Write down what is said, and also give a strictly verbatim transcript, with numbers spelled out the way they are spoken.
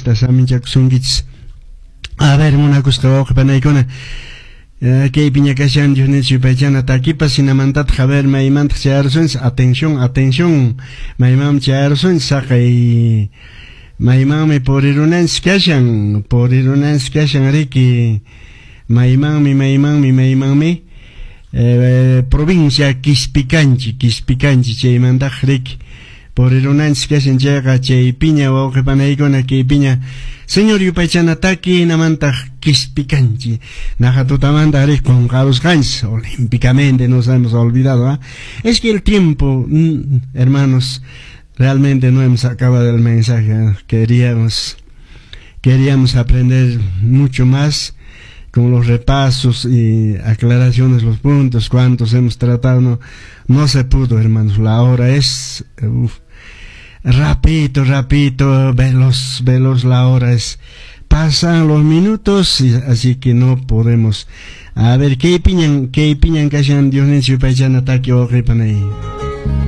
Diosta saminchakusunkichis. A ver, munakusqa wawqi panaykuna, kaypiña kashan Diosninchis yupaychana takipas, hinamantataq a ver maymantaq chayarusunchis. Atención, atención, maymanmi chayarusunchis, saqay maymanmi purirunanchis kashan, purirunanchis kashan riki, maymanmi, maymanmi, maymanmi, eh, provincia Quispicanchi, Quispicanchi chaymantaq riki purirunanchis kashan chayqa chaypiña wawqi panaykuna kaypiña Señor yupaychana taki hinamantaq Quispicanchi naqa tutamanta rik qunqarusqanchis, olímpicamente nos hemos olvidado, ¿eh? Es que el tiempo, mm, hermanos, realmente no hemos acabado el mensaje, ¿eh? Queríamos queríamos aprender mucho más con los repasos y aclaraciones, los puntos, cuantos hemos tratado, no, no se pudo, hermanos. La hora es, uf, rapidito, rapidito, veloz, veloz la hora es. Pasan los minutos, y así que no podemos. A ver, kaypiñan, kaypiñan kashan Diosninchis yupaychana taki wawqi panay.